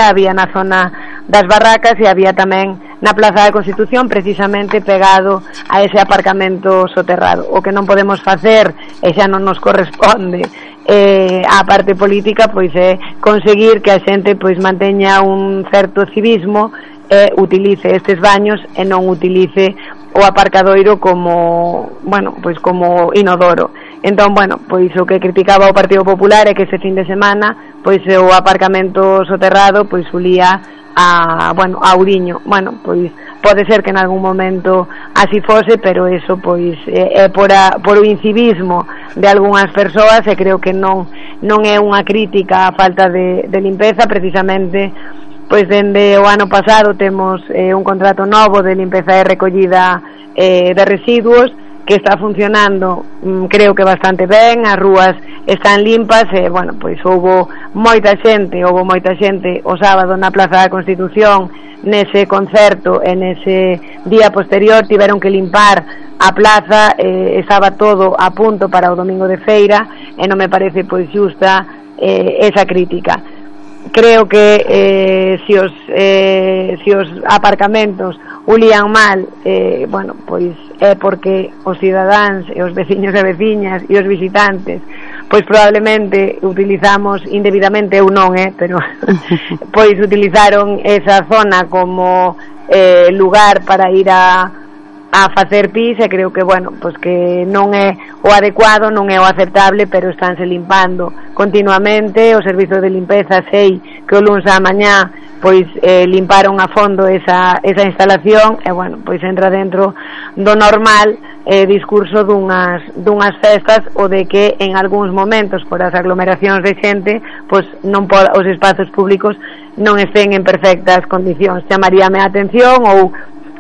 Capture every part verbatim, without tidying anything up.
Coruña, había na zona das Barracas e había tamén na Plaza da Constitución, precisamente pegado a ese aparcamento soterrado. O que non podemos facer, e xa non nos corresponde eh, a parte política, pois é conseguir que a xente pois manteña un certo civismo e utilice estes baños e non utilice o aparcadoiro como, bueno, pois como inodoro. Entón, bueno, pois o que criticaba o Partido Popular é que ese fin de semana pois o aparcamento soterrado pois ulía a, bueno, a Ouriño. Bueno, pois pode ser que en algún momento así fose, pero eso pois é, é por, a, por o incivismo de algunhas persoas, e creo que non non é unha crítica á falta de, de limpeza. Precisamente pois dende o ano pasado temos eh, un contrato novo de limpeza e recollida eh, de residuos que está funcionando, mm, creo que bastante ben. As rúas están limpas e, bueno, pois houbo moita xente, houbo moita xente o sábado na Plaza da Constitución nese concerto e nese día posterior tiveron que limpar a plaza, eh, estaba todo a punto para o domingo de feira e non me parece pois xusta eh, esa crítica. Creo que eh, si os eh, si os aparcamentos ulían mal, eh, bueno, pois é porque os cidadáns e os veciños e veciñas e os visitantes pois probablemente utilizamos indebidamente, ou non, eh, pero pois utilizaron esa zona como eh, lugar para ir a a facer pis, e creo que, bueno, pois que non é o adecuado, non é o aceptable, pero estánse limpando continuamente. O servizo de limpeza, sei que o luns á mañá pois eh, limparon a fondo esa, esa instalación, e, bueno, pois entra dentro do normal eh, discurso dunhas, dunhas festas, o de que en algúns momentos, por as aglomeracións de xente, pois non pod, os espazos públicos non estén en perfectas condicións. Chamaríame a atención, ou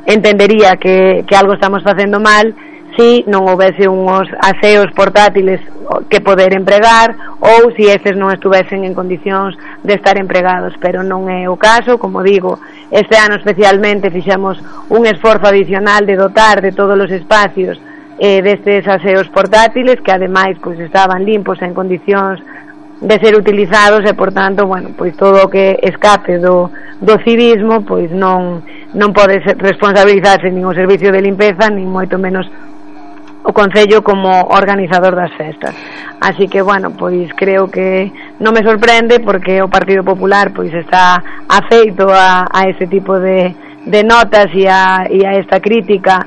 entendería que, que algo estamos facendo mal si non houvese uns aseos portátiles que poder empregar, ou si estes non estuvesen en condicións de estar empregados, pero non é o caso. Como digo, este ano especialmente fixemos un esforzo adicional de dotar de todos os espacios eh, destes aseos portátiles, que ademais pois estaban limpos en condicións de ser utilizados, e por tanto, bueno, pois todo o que escape do, do civismo pois non non pode responsabilizarse nin o servicio de limpeza, nin moito menos o Concello como organizador das festas. Así que, bueno, pois creo que non me sorprende, porque o Partido Popular pois está afeito a, a ese tipo de, de notas e a, e a esta crítica.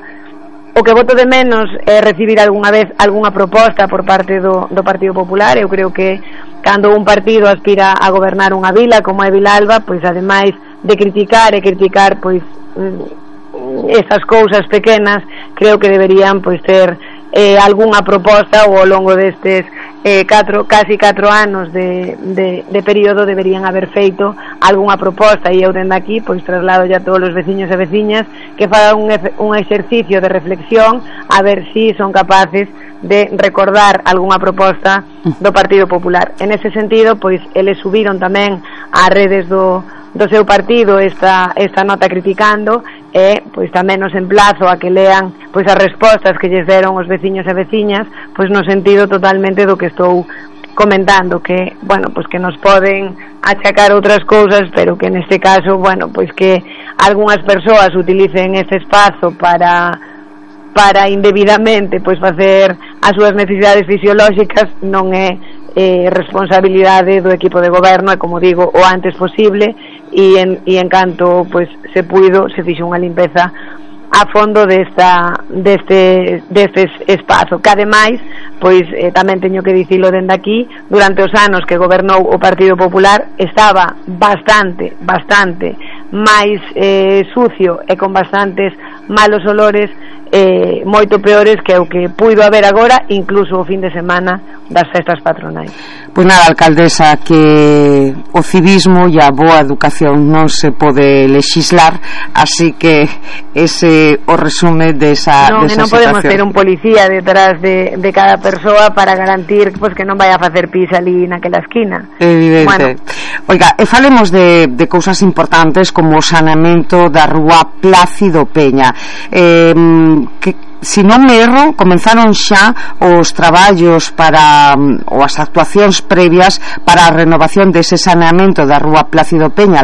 O que voto de menos é recibir algunha vez algunha proposta por parte do, do Partido Popular. Eu creo que cando un partido aspira a gobernar unha vila como é Vilalba, pois ademais de criticar e criticar pois estas cousas pequenas, creo que deberían pois ter eh, algunha proposta, ou ao longo destes eh, catro, casi catro anos de, de, de período deberían haber feito algunha proposta. E eu dende aquí pois traslado ya a todos os veciños e veciñas que fagan un, un exercicio de reflexión a ver si son capaces de recordar algunha proposta do Partido Popular. En ese sentido, pois eles subiron tamén ás redes do do seu partido esta, esta nota criticando, e pois tamén nos emplazo a que lean pois as respostas que lles deron os veciños e veciñas, pois no sentido totalmente do que estou comentando, que, bueno, pois que nos poden achacar outras cousas, pero que neste caso, bueno, pois que algunhas persoas utilicen este espazo para para indebidamente pois facer as súas necesidades fisiolóxicas non é eh, responsabilidade do equipo de goberno, e como digo, o antes posible, e en, e en canto pois se puido se fixo unha limpeza a fondo desta deste deste espazo, que ademais pois eh, tamén teño que dicilo dende aquí, durante os anos que gobernou o Partido Popular estaba bastante bastante máis eh, sucio e con bastantes malos olores, eh, moito peores que o que puido haber agora, incluso o fin de semana das festas patronais. Pois nada, alcaldesa, que o civismo e a boa educación non se pode lexislar, así que ese o resume desa, non, desa non podemos situación. ter un policía detrás de, de cada persoa para garantir pues, que non vai a facer pis ali naquela esquina. Evidente. Bueno. Oiga, e falemos de, de cousas importantes como o saneamento da rúa Plácido Peña. Eh, que si non me erro, comenzaron xa os traballos para ou as actuacións previas para a renovación dese saneamento da rúa Plácido Peña,